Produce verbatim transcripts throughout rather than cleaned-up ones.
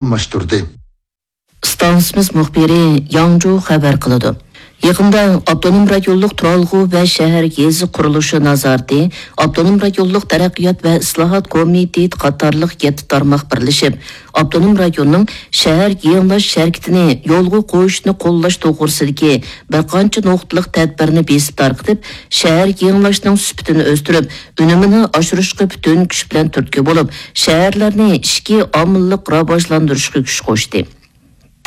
ئالماشتۇردى. ئىستانسىمىز مۇخبىرى ياڭجۇ خەۋەر قىلىدۇ. يېقىندا ئاپتونوم رايونلۇق تۇرالغۇ ۋە شەھەر يېزا قۇرۇلۇشى نازارىتى، ئاپتونوم رايونلۇق تەرەققىيات ۋە ئىسلاھات كومىتېتى قاتارلىق يەتتە تارماق بىرلىشىپ، ئاپتونوم رايوننىڭ شەھەر يېڭىلاش ھەرىكىتىنى يولغا قويۇشنى قوللاش توغرىسىدىكى بىر قانچە نۇقتىلىق تەدبىرنى بېسىپ تارقىتىپ، شەھەر يېڭىلاشنىڭ سۈپىتىنى ئۆستۈرۈپ، ئۈنۈمىنى ئاشۇرۇشقا پۈتۈن كۈچ بىلەن تۈرتكە بولۇپ، شەھەرلەرنى ئىچكى ئامىللىق راۋاجلاندۇرۇشقا كۈچ قوشتى.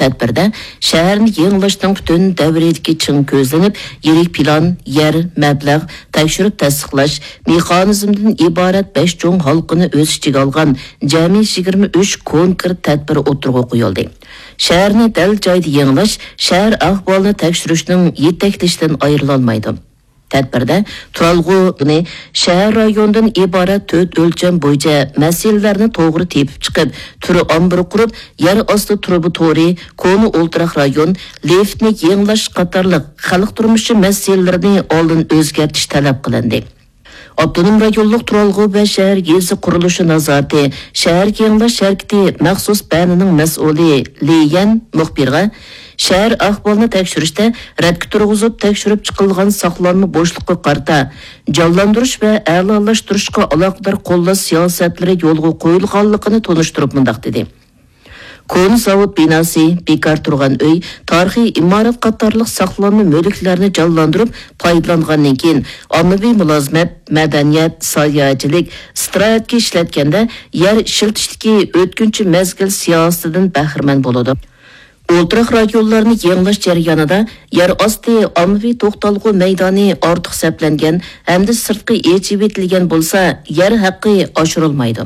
تەدبىردە شەھەرنى يېڭىلاشنىڭ پۈتۈن دەۋرىدىكى چىڭ كۆزلىنىپ، يىرىك پىلان، يەر، مەبلەغ، تەكشۈرۈپ تەستىقلاش مېخانىزمىدىن ئىبارەت بەش چوڭ ھالقىنى ئۆز ئىچىگە ئالغان جەمئىي يىگىرمە ئۈچ كونكرېت تەدبىر ئوتتۇرىغا قويۇلدى. شەھەرنى دەل جايىدا يېڭىلاش شەھەر ئەھۋالىنى تەكشۈرۈشنىڭ يېتەكلىشىدىن ئايرىلالمايدۇ. تەدبىردە تۇرالغۇنى شەھەر رايونىدىن ئىبارەت تۆت ئۆلچەم بويىچە مەسىلىلەرنى توغرا تېپىپ چىقىپ، تۈر ئامبىرى قۇرۇپ، يەر ئاستى تۇرۇبا تورى، كونا ئولتۇراق رايون، لىفتنى يېڭىلاش قاتارلىق خەلق تۇرمۇشى مەسىلىلىرىنى ئالدىن ئۆزگەرتىش تەلەپ قىلىندى. ئاپتونوم رايونلۇق تۇرالغۇ ۋە شەھەر يېزا قۇرۇلۇشى نازارىتى شەھەر يېڭىلاش ھەرىكىتى مەخسۇس بەنىنىڭ مەسئۇلى لى يەن مۇخبىرغا، شەھەر ئەھۋالىنى تەكشۈرۈشتە رەتكە تۇرغۇزۇپ تەكشۈرۈپ چىقىلغان ساقلانما بوشلۇققا قارىتا جانلاندۇرۇش ۋە ئەلالاشتۇرۇشقا ئالاقىدار قوللاش سىياسەتلىرى يولغا قويۇلغانلىقىنى تونۇشتۇرۇپ مۇنداق دېدى: كونا زاۋۇت بىناسى، بىكار تۇرغان ئۆي، تارىخىي ئىمارەت قاتارلىق ساقلانما مۈلۈكلەرنى جانلاندۇرۇپ پايدىلانغاندىن كېيىن، ئاممىۋى مۇلازىمەت، مەدەنىيەت، ساياھەتچىلىك، ئىستىراھەتكە ئىشلەتكەندە يەر ئىشلىتىشتىكى ئۆتكۈنچى مەزگىل سىياسىتىدىن بەھرىمەن بولىدۇ. ئولتۇراق رايونلارنى يېڭىلاش جەريانىدا يەر ئاستى ئاممىۋى توختالغۇ مەيدانى ئارتۇق سەپلەنگەن ھەمدە سىرتقا ئېچىۋېتىلگەن بولسا، يەر ھەققى ئاشۇرۇلمايدۇ.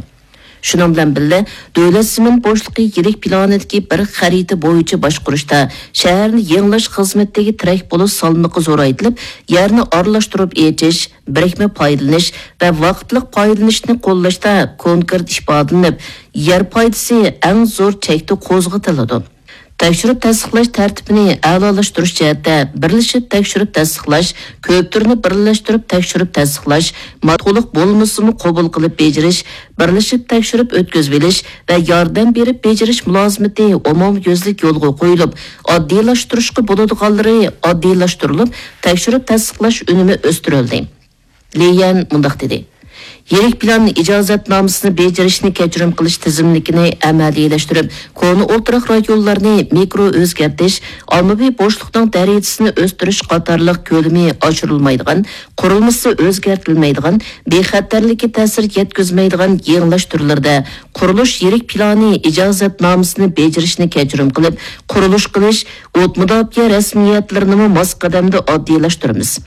شۇنىڭ بىلەن بىللە، دۆلەت زېمىن بوشلۇقى يىرىك پىلانىدىكى بىر خەرىتە بويىچە باشقۇرۇشتا شەھەرنى يېڭىلاش خىزمىتىدىكى تىرەك بولۇش سالمىقى زورايتىلىپ، يەرنى ئارىلاشتۇرۇپ ئېچىش، بىرىكمە پايدىلىنىش ۋە ۋاقىتلىق پايدىلىنىشنى قوللاشتا كونكرېت ئىپادىلىنىپ، يەر پايدىسى ئەڭ زور چەكتە قوزغىتىلىدۇ. تەكشۈرۈپ تەستىقلاش تەرتىپىنى ئەلالاشتۇرۇش جەھەتتە بىرلىشىپ تەكشۈرۈپ تەستىقلاش، كۆپ تۈرنى بىرلەشتۈرۈپ تەكشۈرۈپ تەستىقلاش، ما-، تولۇق بولمىسىمۇ قوبۇل قىلىپ بېجىرىش، بىرلىشىپ تەكشۈرۈپ ئۆتكۈزۈۋېلىش ۋە ياردەم بېرىپ بېجىرىش مۇلازىمىتى ئومۇميۈزلۈك يولغا قويۇلۇپ، ئاددىيلاشتۇرۇشقا بولىدىغانلىرى ئاددىيلاشتۇرۇلۇپ، تەكشۈرۈپ تەستىقلاش ئۈنۈمى ئۆستۈرۈلدى. لى يەن مۇنداق دېدى: يىرىك پىلان ئىجازەتنامىسىنى بېجىرىشنى كەچۈرۈم قىلىش تىزىملىكىنى ئەمەلىيلەشتۈرۈپ، كونا ئولتۇراق رايونلارنى مىكرو ئۆزگەرتىش، ئاممىۋى بوشلۇقنىڭ دەرىجىسىنى ئۆستۈرۈش قاتارلىق كۆلىمى ئاشۇرۇلمايدىغان، قۇرۇلمىسى ئۆزگەرتىلمەيدىغان، بىخەتەرلىككە تەسىر يەتكۈزمەيدىغان يېڭىلاش تۈرلىرىدە قۇرۇلۇش يىرىك پىلانى ئىجازەتنامىسىنى بېجىرىشنى كەچۈرۈم قىلىپ، قۇرۇلۇش قىلىش، ئوت مۇداپىئە رەسمىيەتلىرىنىمۇ ماس قەدەمدە ئاددىيلاشتۇرىمىز.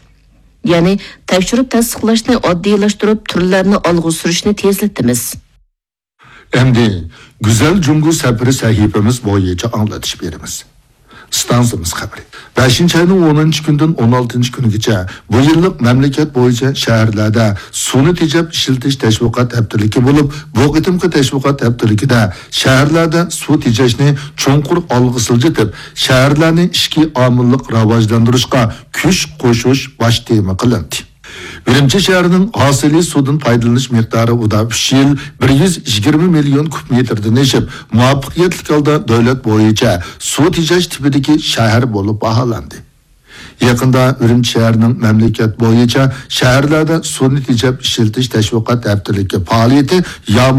يەنى تەكشۈرۈپ تەستىقلاشنى ئاددىيلاشتۇرۇپ، تۈرلەرنى ئالغا سۈرۈشنى تېزلىتىمىز. ئەمدى گۈزەل جۇڭگو سەپىرى سەھىپىمىز بويىچە ئاڭلىتىش بېرىمىز. ئىستانسىمىز خەۋىرى. بەشىنچى ئاينىڭ ئونىنچى كۈنىدىن ئون ئالتىنچى كۈنىگىچە بۇ يىللىق مەملىكەت بويىچە شەھەرلەردە سۇنى تېجەپ ئىشلىتىش تەشۋىقات ھەپتىلىكى بولۇپ، بۇ قېتىمقى تەشۋىقات ھەپتىلىكىدە شەھەرلەردە سۇ تېجەشنى چوڭقۇر ئالغا سىلجىتىپ، شەھەرلەرنى ئىچكى ئامىللىق راۋاجلاندۇرۇشقا كۈچ قوشۇش باش تېما قىلىندى. ئۈرۈمچى شەھىرىنىڭ ھاسىلى سۇدىن پايدىلىنىش مىقدارى ئۇدا ئۈچ يىل بىر يۈز يىگىرمە مىليون كۇب مېتىردىن ئېشىپ، مۇۋەپپەقىيەتلىك ھالدا دۆلەت بويىچە سۇ تېجەش تىپىدىكى شەھەر بولۇپ باھالاندى. يېقىندا ئۈرۈمچى شەھىرىنىڭ مەملىكەت بويىچە شەھەرلەردە سۇنى تېجەپ ئىشلىتىش تەشۋىقات ھەپتىلىكى پائالىيىتى يامۇل